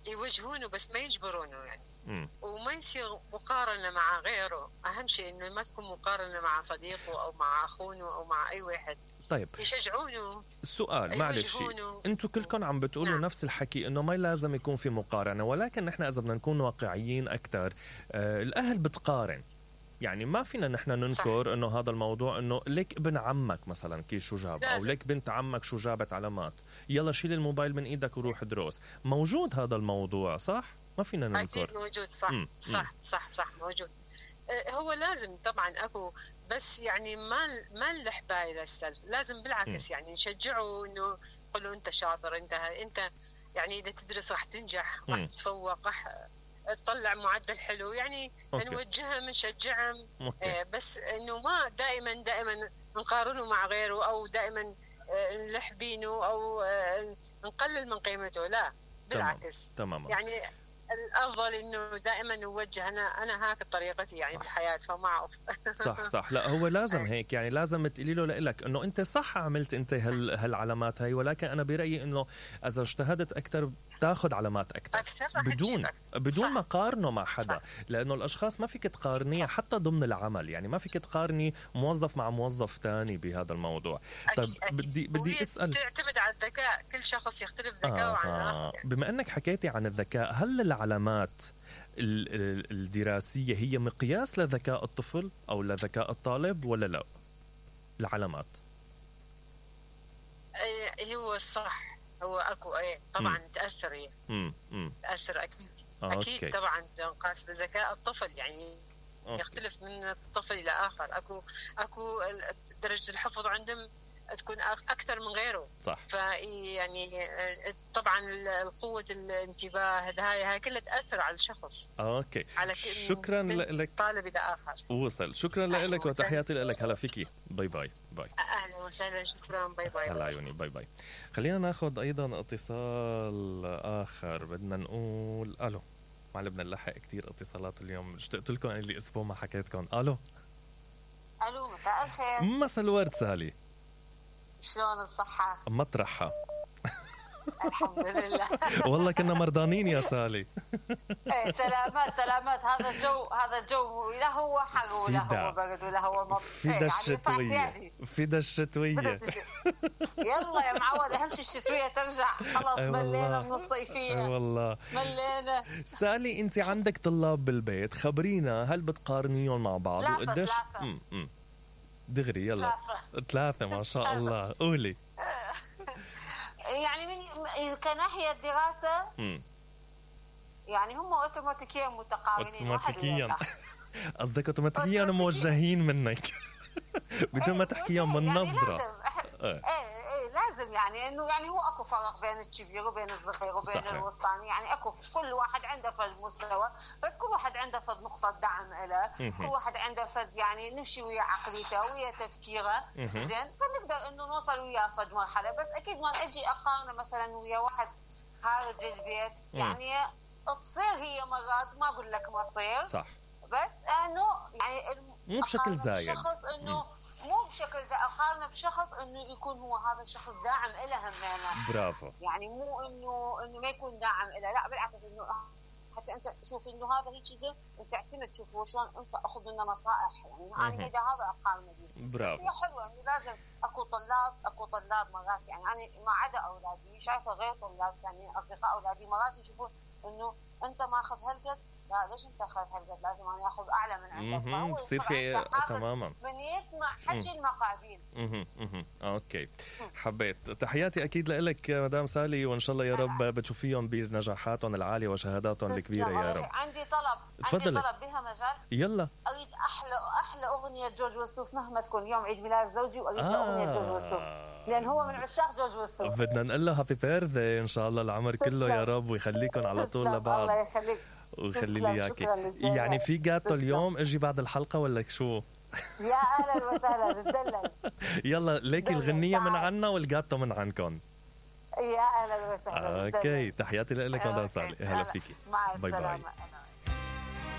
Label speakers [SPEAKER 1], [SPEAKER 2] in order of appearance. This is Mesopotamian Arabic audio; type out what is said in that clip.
[SPEAKER 1] يوجهونه بس ما يجبرونه يعني. وما يصير مقارنة مع غيره. أهم شيء إنه ما تكون مقارنة مع صديقه أو مع أخونه أو مع أي واحد.
[SPEAKER 2] طيب
[SPEAKER 1] يشجعونه.
[SPEAKER 2] السؤال معلش، انتوا كلكم عم بتقولوا نعم. نفس الحكي انه ما لازم يكون في مقارنة، ولكن نحن اذا بدنا نكون واقعيين اكثر الاهل بتقارن. يعني ما فينا نحن ننكر انه هذا الموضوع، انه ليك ابن عمك مثلا كيف شو جاب، او ليك بنت عمك شو جابت علامات، يلا شيل الموبايل من ايدك وروح دروس. موجود هذا الموضوع صح؟ ما فينا ننكر.
[SPEAKER 1] اكيد موجود. صح موجود. هو لازم طبعا اكو، بس يعني ما نلحبها للسلف، لازم بالعكس يعني نشجعه، انه نقول له انت شاطر، انت يعني اذا تدرس راح تنجح، راح تتفوق، راح تطلع معدل حلو، يعني نوجههم نشجعهم. بس انه ما دائما نقارنه مع غيره، او دائما نلحبينه او نقلل من قيمته. لا بالعكس.
[SPEAKER 2] تمام.
[SPEAKER 1] يعني الافضل انه دائما نوجه. انا هاك طريقتي يعني بالحياه، فما اعرف.
[SPEAKER 2] صح. لا هو لازم هيك، يعني لازم تقولي له لك انه انت صح عملت انت هالعلامات هاي، ولكن انا برايي انه اذا اجتهدت اكثر تاخذ علامات اكثر بدون ما قارنه مع حدا. لانه الاشخاص ما فيك تقارنيها حتى ضمن العمل، يعني ما فيك تقارني موظف مع موظف تاني بهذا الموضوع. طيب بدي اسال،
[SPEAKER 1] تعتمد على الذكاء، كل شخص يختلف ذكاؤه عن الآخر.
[SPEAKER 2] بما انك حكيتي عن الذكاء، هل العلامات الدراسية هي مقياس لذكاء الطفل او لذكاء الطالب ولا لا؟ العلامات
[SPEAKER 1] هو صح، هو اكو طبعا تاثر تاثر اكيد. اكيد طبعا تنقاس بذكاء الطفل، يعني يختلف من الطفل الى اخر. اكو درجه الحفظ عندهم تكون اكثر من غيره.
[SPEAKER 2] صح.
[SPEAKER 1] فيعني طبعا قوه الانتباه هاي كلها تاثر على الشخص.
[SPEAKER 2] اوكي. شكرا لك
[SPEAKER 1] طالب الى اخر.
[SPEAKER 2] وصل. شكرا لك وتحياتي لك. هلا فيكي. باي.
[SPEAKER 1] اهلا وسهلا. شكرا. باي.
[SPEAKER 2] هلا عيوني. باي. خلينا ناخذ ايضا اتصال اخر. بدنا نقول الو. ما بدنا نلحق كثير اتصالات اليوم. اشتقت لكم اللي اسبوع ما حكيتكم. الو.
[SPEAKER 3] مساء الخير.
[SPEAKER 2] مساء الورد سالي.
[SPEAKER 3] شلون الصحة؟
[SPEAKER 2] مطرحها.
[SPEAKER 3] الحمد لله.
[SPEAKER 2] والله كنا مرضانين يا سالي.
[SPEAKER 3] سلامات. هذا الجو لا هو حر ولا هو برد ولا هو مطر.
[SPEAKER 2] فدا الشتوية.
[SPEAKER 3] يلا يا معود، اهم شيء الشتوية ترجع. خلاص ملينا من الصيفية.
[SPEAKER 2] والله
[SPEAKER 3] ملينا.
[SPEAKER 2] سالي انت عندك طلاب بالبيت، خبرينا هل بتقارنيهم مع بعض وقديش؟ دغري يلا. 3 ما شاء الله. قولي.
[SPEAKER 3] يعني من كناحية الدراسة يعني هم اوتوماتيكيا متقارنين.
[SPEAKER 2] اوتوماتيكيا قصدك اوتوماتيكيا موجهين منك بدون ما تحكيهم من نظرة.
[SPEAKER 3] لازم يعني انه يعني هو اكو فرق بين الكبير وبين الصغير وبين الوسطاني، يعني اكو كل واحد عنده فد مستوى، بس كل واحد عنده فد نقطة دعم له، كل واحد عنده فد يعني نمشي ويا عقليته ويا تفكيره. زين، فنقدر انه نوصل ويا فد مرحلة. بس اكيد ما اجي اقارنه مثلا ويا واحد خارج البيت. يعني تصير هي مرات، ما اقول لك ما تصير،
[SPEAKER 2] صح،
[SPEAKER 3] بس انه يعني
[SPEAKER 2] مو بشكل زايد.
[SPEAKER 3] شخص انه مو بشكل زايد، اقارنه بشخص انه يكون هو هذا الشخص داعم له همينه.
[SPEAKER 2] برافو.
[SPEAKER 3] يعني مو انه ما يكون داعم له، لا بالعكس، انه حتى انت شوف انه هذا هيك كذا انت تعتمد تشوف هو شلون انت اخذ منه نصائح. يعني انا هذا اقارنه به.
[SPEAKER 2] برافو.
[SPEAKER 3] هي حلوه انه لازم اكو طلاب مرات، يعني انا ما عدا اولادي شايفه غير طلاب يعني اصدقاء اولادي مرات يشوفون انه انت ماخذ هالقد، لا ليش انت اخذ هالقد، لازم انا اخذ اعلى من عندك.
[SPEAKER 2] بصير في تماما
[SPEAKER 3] من يسمع حكي المقادير.
[SPEAKER 2] اوكي. حبيت. تحياتي اكيد لك مدام سالي، وان شاء الله يا رب بتشوفيهم بنجاحاتهم العاليه وشهاداتهم الكبيره يا رب.
[SPEAKER 3] عندي طلب.
[SPEAKER 2] تفضلي.
[SPEAKER 3] عندي طلب بها مجال.
[SPEAKER 2] يلا.
[SPEAKER 3] اريد احلى اغنيه جورج وسوف مهما تكون. يوم عيد ميلاد زوجي واريد اغنيه جورج وسوف، لان هو من عشاق جورج وسوف. بدنا
[SPEAKER 2] نقول له هابي بيرثدي ان شاء الله العمر كله يا رب، ويخليكم على طول لبعض.
[SPEAKER 3] الله يخليك
[SPEAKER 2] وخلي لي اياكي. يعني في جاتو اليوم اجي بعد الحلقه ولا شو؟
[SPEAKER 3] يا اهلا وسهلا. تدلل.
[SPEAKER 2] يلا ليكي الغنيه من عنا والجاتو من عنكم.
[SPEAKER 3] يا اهلا وسهلا.
[SPEAKER 2] اوكي. تحياتي لك مدام سالي. هلا فيكي.
[SPEAKER 3] مع السلامه.